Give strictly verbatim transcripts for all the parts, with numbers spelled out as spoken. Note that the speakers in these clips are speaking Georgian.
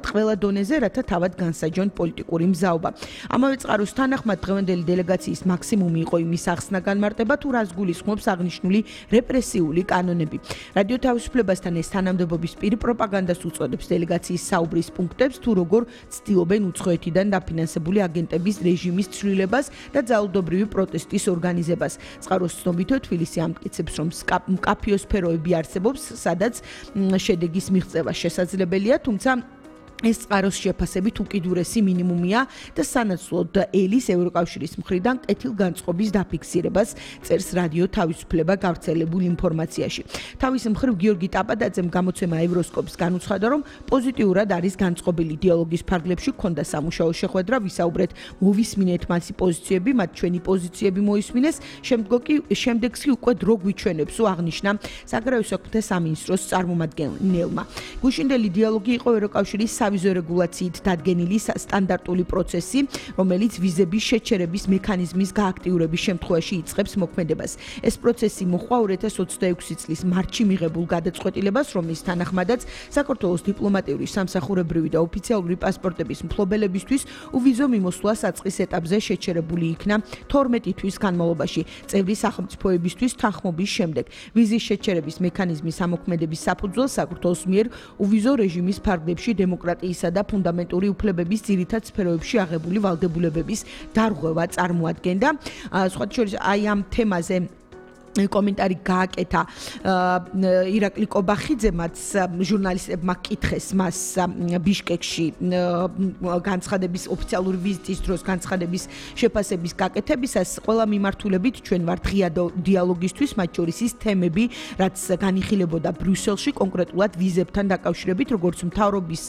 ყველა დონეზე, რათა თავად განსაჯონ პოლიტიკური მზაობა. ამავე წყაროს თანახმად დღევანდელი დელეგაციის მაქსიმუმი იყო იმის ახსნა განმარტება, თუ რას გულისხმობს აღნიშნული რეპრესიული კანონები. რადიო თავისუფლებასთან ეს თანამდებობის პირი პროპაგანდას უწოდებს დელეგაციის საუბრის პუნქტებს, თუ როგორ ცდილობენ უცხოეთიდან დაფინანსებული აგენტების რეჟიმის ცვლილებას და ძალადობრივი პროტესტის ორგანიზებას. წყაროს ცნობითო თბილისი ამტკიცებს, რომ მკაფიო სფეროები არსებობს, სადაც შედეგის მიღწევა შესაძლებელია, თუმცა ეს წყაროს შეფასებით უკიდურესი მინიმუმია და სანაცვლოდ ელის ევროკავშირის მხრიდან კეთილგანწყობის დაფიქსირებას წერს რადიო თავისუფლება გავრცელებულ ინფორმაციაში. თავის მხრივ გიორგი ტაპადაძემ გამოცემა ევროსკოპს განუცხადა, რომ პოზიტიურად არის განწყობილი დიალოგის ფარგლებში ჰქონდა სამუშაო შეხვედრა, ვისაუბრეთ, მოვისმინეთ მასი პოზიციები, მათ ჩვენი პოზიციები მოისმინეს, შემდგომ კი შემდეგს კი უკვე დრო გვიჩვენებს, აღნიშნა საგარეო საქმეთა სამინისტროს წარმომადგენელმა. გუშინდელი დიალოგი იყო ევროკავშირის სავიზო რეგულაციით დადგენილი სტანდარტული პროცესი, რომელიც ვიზების შეჩერების მექანიზმის გააქტიურების შემთხვევაში იწყებს მოქმედებას. ეს პროცესი მოჰყვა ორი ათას ოცდაექვსი წლის მარტში მიღებულ გადაწყვეტილებას, რომლის თანახმადაც საქართველოს დიპლომატიური, სამსახურებრივი და ოფიციალური პასპორტების მფლობელებისთვის უვიზო მიმოსვლა საწყის ეტაპზე შეჩერებული იქნა თორმეტი თვის განმავლობაში, წევრი სახელმწიფოებისთვის თანხმობის შემდეგ. ვიზის შეჩერების მექანიზმის ამოქმედების საფუძველს საქართველოს მიერ უვიზო რეჟიმის ფარგლებში დემოკრატიისა და ფუნდამენტური უფლებების ძირითად სფეროებში აღებული ვალდებულებების დარღვევა წარმოადგენდა. სხვათა შორის აი ამ თემაზე კომენტარი გააკეთა ირაკლი კობახიძემაც, ჟურნალისტებმა კითხეს მას ბიშკეკში განცხადების ოფიციალური ვიზიტის დროს განცხადების შეფასების გაკეთებისას. ყველა მიმართულებით ჩვენ ვართ ღია დიალოგისთვის, მათ შორის ის თემები, რაც განიხილებოდა ბრიუსელში, კონკრეტულად ვიზებთან დაკავშირებით, როგორც მთავრობის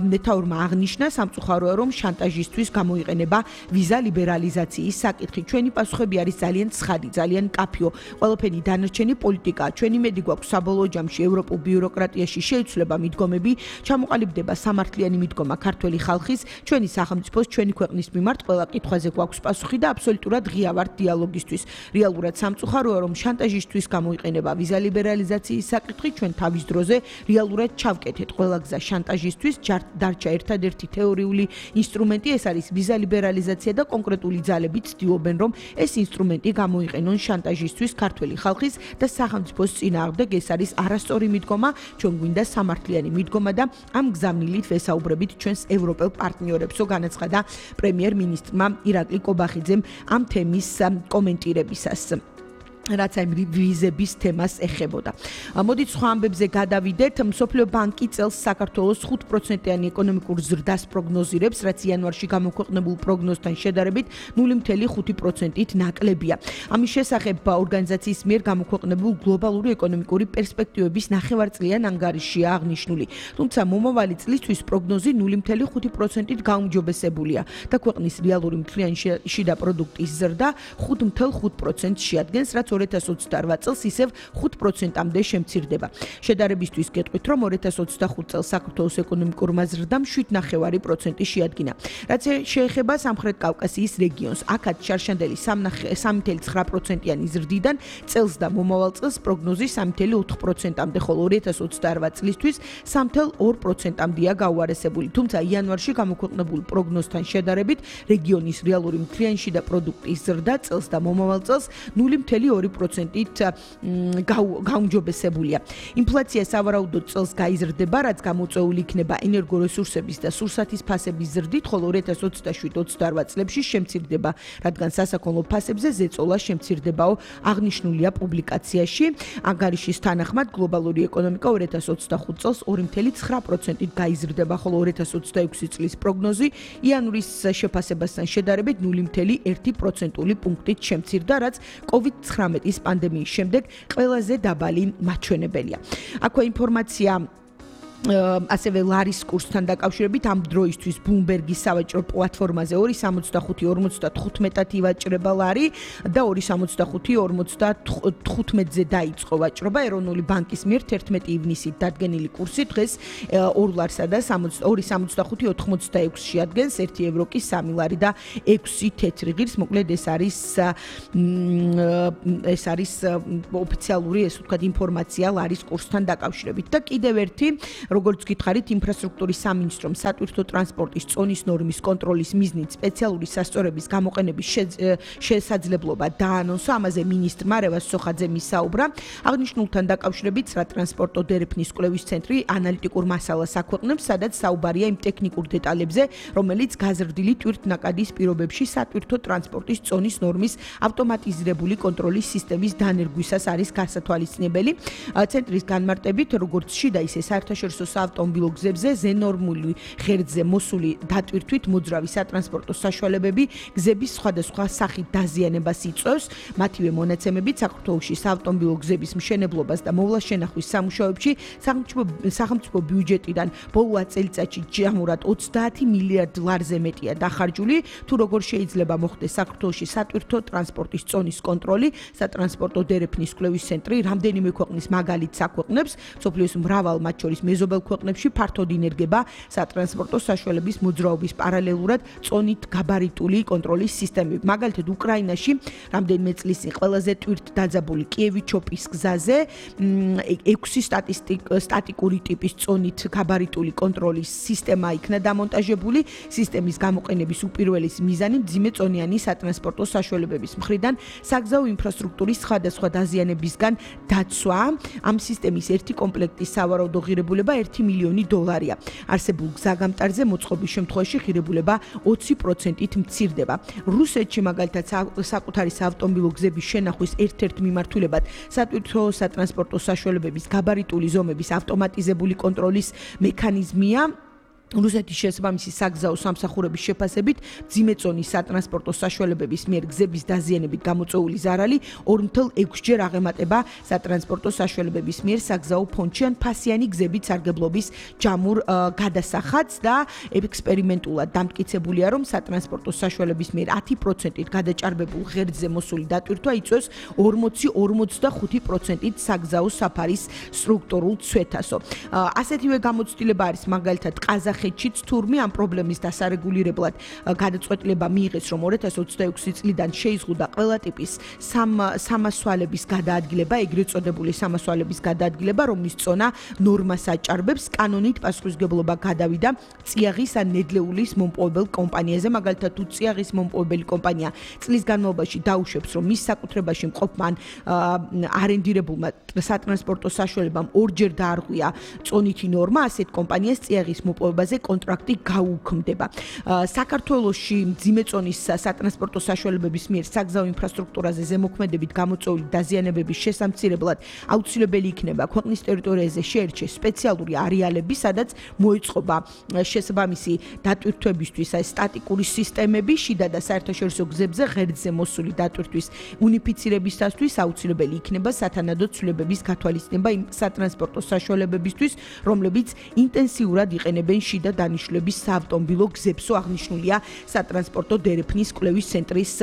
მეთაურმა აღნიშნა, სამწუხაროა, რომ შანტაჟისთვის გამოიყენება ვიზა ლიბერალიზაციის საკითხი. ჩვენი პასუხები არის ძალიან ცხადი, ძალიან მკაფიო. ყველაფერი დანარჩენი პოლიტიკაა. ჩვენი მედი გვაქვს საბოლოო ჯამში ევროპულ ბიუროკრატიაში შეიცვლება მიდგომები, ჩამოყალიბდება სამართლიანი მიდგომა ქართველი ხალხის, ჩვენი სახელმწიფოს, ჩვენი ქვეყნის მიმართ ყველა კითხვაზე გვაქვს პასუხი და აბსოლუტურად ღია ვართ დიალოგისთვის. რეალურად სამწუხაროა, რომ შანტაჟისთვის გამოიყენება ვიზა ლიბერალიზაციის საკითხი, ჩვენ თავის დროზე რეალურად ჩავკეთეთ ყველა გზა შანტაჟისთვის, დარჩა ერთადერთი თეორიული ინსტრუმენტი, ეს არის ვიზა ლიბერალიზაცია და კონკრეტული ძალები ცდილობენ, რომ ეს ინსტრუმენტი გამოიყენონ შანტაჟისთვის ქართველი ხალხის და სახელმწიფოს წინააღმდეგ. ეს არის არასწორი მიდგომა, ჩვენ გვინდა სამართლიანი მიდგომა და ამ გზავნილით ვესაუბრებით ჩვენს ევროპელ პარტნიორებსო, განაცხადა პრემიერ-მინისტრმა ირაკლი კობახიძემ ამ თემის კომენტირებისას, რაც აი ვიზების თემას ეხებოდა. მოდით სხვა ამბებზე გადავიდეთ. მსოფლიო ბანკი წელს საქართველოს ხუთ პროცენტიანი ეკონომიკურ ზრდას პროგნოზირებს, რაც იანვარში გამოქვეყნებულ პროგნოზთან შედარებით ნული მცდამეტი ხუთი პროცენტით ნაკლებია. ამის შესახებ ორგანიზაციის მიერ გამოქვეყნებულ გლობალური ეკონომიკური პერსპექტივების ნახევარწლიან ანგარიშია აღნიშნული. თუმცა მომავალი წლისთვის პროგნოზი ნული მცდამეტი ხუთი პროცენტით გაუმჯობესებულია და ქვეყნის რეალური მთლიანი შიდა პროდუქტის ზრდა ხუთ მცდამეტი ხუთი პროცენტს შეადგენს, რაც ორი ათას ოცდაორ წელს ისევ ხუთ პროცენტამდე შემცირდება. შედარებისთვის გეტყვით, რომ ორი ათას ოცდახუთ წელს საქართველოს ეკონომიკურმა ზრდამ შვიდ ნახევარი პროცენტი შეადგინა. რაც შეეხება სამხრეთ კავკასიის რეგიონს, აქაც შარშანდელი სამი მცდამეტი ცხრა პროცენტიანი ზრდიდან წელს და მომავალ წელს პროგნოზი სამი მცდამეტი ოთხ პროცენტამდე, ხოლო ორი ათას ოცდაორ წლისთვის სამი მცდამეტი ორ პროცენტამდეა გაუარესებული. თუმცა იანვარში გამოქვეყნებულ პროგნოზთან შედარებით რეგიონის რეალური მთლიანი შიდა პროდუქტის ზრდა წელს და მომავალ წელს ნული მცდამეტი ორი პროცენტით გაუმჯობესებულია. ინფლაცია სავარაუდოდ წელს გაიზრდება, რაც გამოწვეული იქნება ენერგორესურსების და სურსათის ფასების ზრდით, ხოლო ორი ათას ოცდაშვიდ ოცდაორ წლებში შემცირდება, რადგან სასაქონლო ფასებზე ზეწოლა შემცირდებაო, აღნიშნულია პუბლიკაციაში. ანგარიშის თანახმად გლობალური ეკონომიკა ორი ათას ოცდახუთ წელს ორი მცდამეტი ცხრა პროცენტით გაიზრდება, ხოლო ორი ათას ოცდაექვსი წლის პროგნოზი იანვრის შეფასებასთან შედარებით ნული მცდამეტი ერთი პროცენტული პუნქტით შემცირდა, რაც კოვიდ ცხრამეტის პანდემიის შემდეგ ყველაზე დაბალი მაჩვენებელია. აქვე ინფორმაცია ასევე ლარის კურსთან დაკავშირებით ამ დროისთვის ბლუმბერგის სავაჭრო პლატფორმაზე ორი სამოცდახუთი ორმოცდათხუთმეტად ივაჭრება ლარი და ორი სამოცდახუთი ორმოცდათხუთმეტზე დაიწყო ვაჭრობა. ეროვნული ბანკის მიერ თერთმეტი ივნისით დადგენილი კურსი დღეს ორ ლარსა და ორი სამოცდახუთი ოთხმოცდაექვსს შეადგენს, ერთი ევრო კი სამი ლარი და ექვსი თეთრი ღირს. მოკლედ ეს არის ეს არის ოფიციალური, ესე ვთქვათ, ინფორმაცია ლარის კურსთან დაკავშირებით. და კიდევ ერთი როგორც გითხარით, ინფრასტრუქტურის სამინისტრომ სატვირთო ტრანსპორტის წონის ნორმის კონტროლის მიზნით სპეციალური სასწორების გამოყენების შესაძლებლობა დაანონსა. ამაზე მინისტრმა რევაზ სოხაძემ ისაუბრა. აღნიშნულთან დაკავშირებით სატრანსპორტო დერეფნის კვლევის ცენტრი ანალიტიკურ მასალას აქვეყნებს, სადაც საუბარია იმ ტექნიკურ დეტალებზე, რომელიც გაზრდილი ტვირთნაკადის პირობებში სატვირთო ტრანსპორტის წონის ნორმის ავტომატიზირებული კონტროლის სისტემის დანერგვისას არის გასათვალისწინებელი. ცენტრის განმარტებით, როგორც შიდა ისე საერთაშორისო საავტომობილო გზებზე ზენორმული ღერძზე მოსული დატვირთვით მოძრავი სატრანსპორტო საშუალებები გზების სხვადასხვა სახით დაზიანებას იწვევს. მათივე მონაცემებით საქართველოში საავტომობილო გზების მშენებლობას და მოვლას-შენახვის სამუშაოებში სახელმწიფო ბიუჯეტიდან ბოლო ათ წელიწადში ჯამურად ოცდაათი მილიარდ ლარზე მეტია დახარჯული. თუ როგორ შეიძლება მოხდეს საქართველოში სატვირთო ტრანსპორტის წონის კონტროლი, სატრანსპორტო დერეფნის კვლევის ცენტრი რამდენიმე ქვეყნის მაგალითს აქვეყნებს. მსოფლიოს მრავალ, მათ შორის მეზობელ ქვეყნებში ფართოდ ინერგება სატრანსპორტო საშუალების მოძრაობის პარალელურად წონით გაბარიტული კონტროლის სისტემები. მაგალითად, უკრაინაში რამდენიმე წლის წინ ყველაზე ტვირთდაძაბული კიევი-ჩოპის გზაზე ექვსი სტატიკური ტიპის წონით გაბარიტული კონტროლის სისტემა იქნა დამონტაჟებული. სისტემის გამოყენების უპირველესი მიზანი მძიმეწონიანი სატრანსპორტო საშუალებების მხრიდან საგზაო ინფრასტრუქტურის სხვადასხვა დაზიანებისგან დაცვა. ამ სისტემის ერთი კომპლექტის სავარაუდო ღირებულება ერთი მილიონი დოლარია. არსებულ გზაგამტარზე მოწყობის შემთხვევაში ღირებულება ოცი პროცენტით მცირდება. რუსეთში მაგალითად საკუთარი საავტომობილო გზების შენახვის ერთ-ერთ მიმართულებად სატვირთო სატრანსპორტო საშუალებების გაბარიტული ზომების ავტომატიზებული კონტროლის მექანიზმია. რუსეთის შესაბამისი საგზაო სამსახურების შეფასებით ძიმეწონის სატრანსპორტო საშუალებების მიერ გზების დაზიანებით გამოწვეული ზარალი ორი ნული ექვსჯერ აღემატება სატრანსპორტო საშუალებების მიერ საგზაო ფონდში ან ფასიანი გზებით სარგებლობის ჯამურ გადასახადს და ექსპერიმენტულად დამტკიცებულია, რომ სატრანსპორტო საშუალების მიერ ათი პროცენტით გადაჭარბებულ ღერძზე მოსული დატვირთვა იწვევს ორმოცი ორმოცდახუთი პროცენტით საგზაო საფარის სტრუქტურულ ცვეთასო. ასეთივე გამოცდილება არის მაგალითად ყაზახეთში. ხეთშიც თურმე ამ პრობლემის დასარეგულირებლად გადაწყვეტილება მიიღეს, რომ ორი ათას ოცდაექვსი წლიდან შეიზღუდა ყველა ტიპის სამასვალების გადაადგილება, ეგრეთ წოდებული სამასვალების გადაადგილება, რომლის წონა ნორმას აჭარბებს. კანონით პასუხისმგებლობა გადავიდა წიაღის ან ნედლეულის მომპოვებელ კომპანიაზე. მაგალითად, თუ წიაღის მომპოვებელი კომპანია წლის განმავლობაში დაუშვებს, რომ მის საკუთრებაში მყოფმა ან არენდირებულმა სატრანსპორტო საშუალებამ ორჯერ დაარღვია წონითი ნორმა, ასეთ კომპანიას წიაღის მოპოვება კონტრაქტი გაუქმდება. საქართველოში ძიმეწონის სატრანსპორტო საშუალებების მიერ საგზაო ინფრასტრუქტურაზე ზემოქმედებით გამოწვეული დაზიანებების შესამცირებლად აუცილებელი იქნება ქვეყნის ტერიტორიაზე შეერჩეს სპეციალური არეალები, სადაც მოეწყობა შესაბამისი დატვირთვებისთვის სტატიკური სისტემები, შიდა და საერთაშორისო გზებზე ღერძზე მოსული დატვირთვის უნიფიცირებისათვის აუცილებელი იქნება სათანადო ცვლილებების გათვალისწინება იმ სატრანსპორტო საშუალებებისთვის, რომლებიც ინტენსიურად იყენებენ შიდა დანიშნულების საავტომობილო გზებსო. აღნიშნულია სატრანსპორტო დერეფნის კვლევის ცენტრის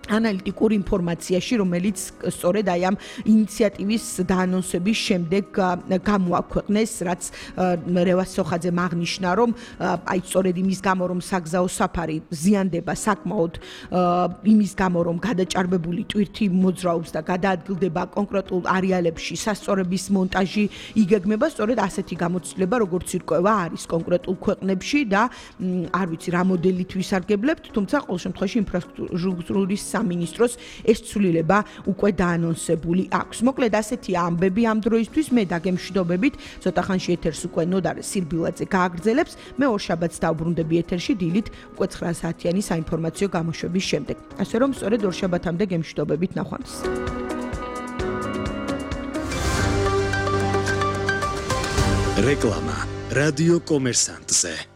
ანალიტიკურ ინფორმაციაში, რომელიც სწორედ აი ამ ინიციატივის დაანონსების შემდეგ გამოაქვეყნეს, რაც რევაზ სოხაძემ აღნიშნა, რომ აი სწორედ იმის გამო, რომ საგზაო საფარი ზიანდება საკმაოდ იმის გამო, რომ გადაჭარბებული ტვირთი მოძრაობს და გადაადგილდება კონკრეტულ არეალებში სასწორების მონტაჟი იგეგმება, სწორედ ასეთი გამოცდილება, როგორც ირკვევა, არის კონკრეტულ ქვეყნებში და არ ვიცი რა მოდელით ვისარგებლებთ, თუმცა ყოველ შემთხვევაში ინფრასტრუქტურის სამინისტროს ეს ცვლილება უკვე დაანონსებული აქვს. მოკლედ ასეთია ამბები ამ დროისთვის. მე დაგემშვიდობებით, ცოტა ხანში ეთერს უკვე ნოდარ სირბილაძე გააგრძელებს. მე ორშაბათს დავბრუნდები ეთერში დილით უკვე ცხრა საათიანი საინფორმაციო გამოშვების შემდეგ. ასე რომ სწორედ ორშაბათამდე გემშვიდობებით ნახვამდის. რეკლამა რადიო კომერსანტზე.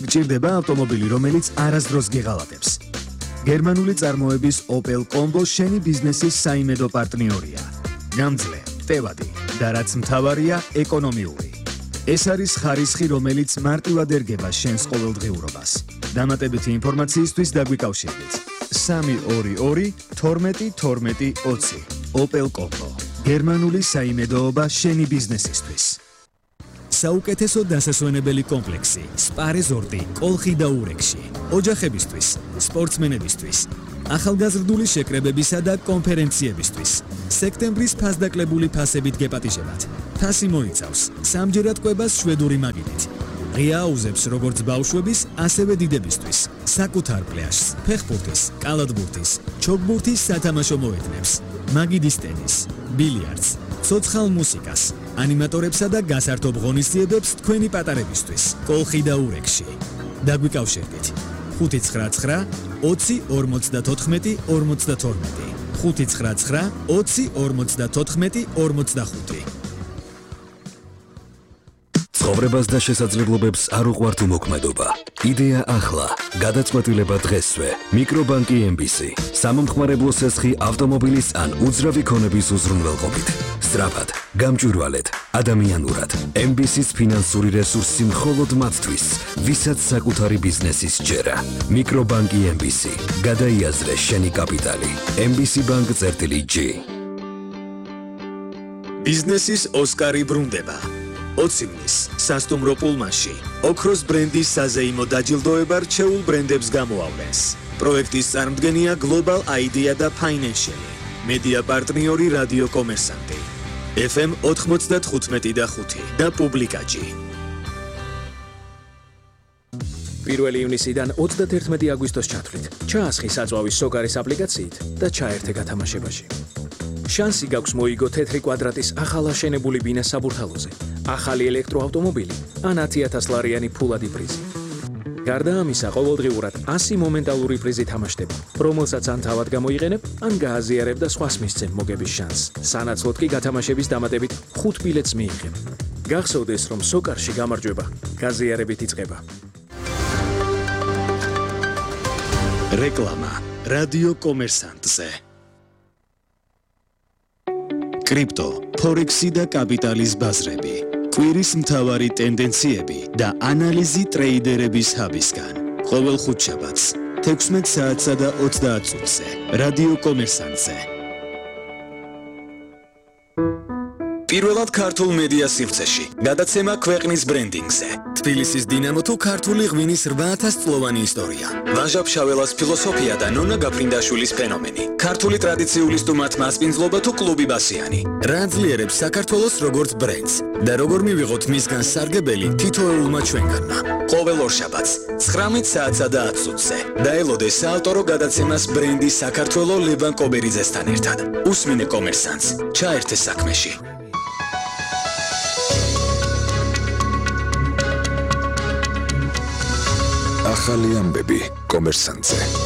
გჭირდება ავტომობილი, რომელიც არასდროს გეღალატებს. გერმანული წარმოების Opel Combo შენი ბიზნესის საიმედო პარტნიორია. გამძლე, ტევადი და რაც მთავარია, ეკონომიური. ეს არის ხარისხი, რომელიც მარტივად ერგება შენს ყოველდღიურობას. დამატებითი ინფორმაციისთვის დაგვიკავშირდით. სამი ორი ორი თორმეტი თორმეტი ოცი. Opel Combo. გერმანული საიმედოობა შენი ბიზნესისთვის. საუკეთესო დასასვენებელი კომპლექსი სპა რეზორტი კოლხი და ურეკში. ოჯახებისთვის, სპორტსმენებისთვის, ახალგაზრდული შეკრებებისა და კონფერენციებისთვის. სექტემბრის ფასდაკლებული ფასებით გეპატიჟებათ. ფასი მოიცავს სამჯერად კვებას შვედური მაგიდით. ღია აუზებს როგორც ბავშვების, ასევე დიდებისთვის. საკუთარ პლაჟს, ფეხბურთის, კალათბურთის, ჩოგბურთის სათამაშო მოედნებს, მაგიდის ტენის, ბილიარდს, ცოცხალ მუსიკას, ანიმატორებსა და გასართობ ღონისძიებებს თქვენი პატარებისთვის. კოლხი და ურეკში. დაგვიკავშირდით. ხუთი ცხრა ცხრა ოცი ორმოცდათოთხმეტი ორმოცდათორმეტი ხუთი ცხრა ცხრა ოცი ორმოცდათოთხმეტი ორმოცდახუთი. ცხოვრებას და შესაძლებლობებს არ უყვართ უმოქმედობა. იდეა ახლა, გადაწყვეტილება დღესვე. მიკრობანკი ემ ბი სი. სამომხმარებლო სესხი ავტომობილის ან უძრავი ქონების უზრუნველყოფით. სწრაფად, გამჭვირვალედ, ადამიანურად. ემ ბი სის ფინანსური რესურსი მხოლოდ მათთვის, ვისაც საკუთარი ბიზნესის ჯერა. მიკრობანკი ემ ბი სი. გადაიაზრე შენი კაპიტალი. ემ ბი სი ბანკ წერტილი ჯი. ბიზნესის ოსკარი ბრუნდება. ოცივნის სასტუმრო პულმანში ოქროს ბრენდის საზეიმო დაჯილდოება რჩეულ ბრენდებს გამოავლენს. პროექტის წარმოდგენია Global Idea და Financial. მედია პარტნიორი რადიო კომერსანტი. ეფ ემ ოთხმოცდათხუთმეტი და ხუთი და პუბლიკაჯი. პირველი ივნისიდან ოცდათერთმეტი აგვისტოს ჩათვლით. ჩაასხი საწვავის სოკარის აპლიკაციით და ჩაერთე გათამაშებაში. შანსი გაქვს მოიგო თეთრი კვადრატის ახალ აშენებული ბინა საბურთალოზე, ახალი ელექტროავტომობილი ან ათი ათას ლარიანი ფულადი პრიზი. გარდა ამისა, ყოველდღიურად ასი მომენტალური პრიზი თამაშდება, რომელსაც ან თავად გამოიყენებ, ან გააზიარებ და სხვას მისცემ მოგების შანსს. სანაცვლოდ კი გათამაშების დამატებით ხუთ ბილეთს მიიღებ. გახსოვდეს, რომ სოკარში გამარჯვება გაზიარებით იწყება. რეკლამა რადიო კომერსანტზე. კრიპტო, ფორექსი და კაპიტალის ბაზრები. კვირის მთავარი ტენდენციები და ანალიზი ტრეიდერების ჰაბისგან. ყოველ ხუთშაბათს, თექვსმეტ საათსა და ოცდაათ წუთზე. რადიო კომერსანტზე. პირველად ქართულ მედია სივრცეში. გადაცემა ქვეყნის ბრენდინგზე. თბილისის დინამო თუ ქართული ღვინის რვა ათას წლოვანი ისტორია. ვაჟა ფშაველას ფილოსოფია და ნონა გაფრინდაშვილის ფენომენი. ქართული ტრადიციული სტუმართ მასპინძლობა თუ კლუბი ბასიანი. რა ძლიერებს საქართველოს როგორც ბრენდს და როგორ მივიღოთ მისგან სარგებელი თითოეულმა ჩვენგანმა. ყოველ ორშაბათს, ცხრამეტ საათსა და ათ წუთზე. დაელოდე საავტორო გადაცემას ბრენდი საქართველო ლევან კობერიძესთან ერთად. უსმინე კომერსანტს, ჩაერთე საქმეში. ახალი ამბები კომერსანტზე.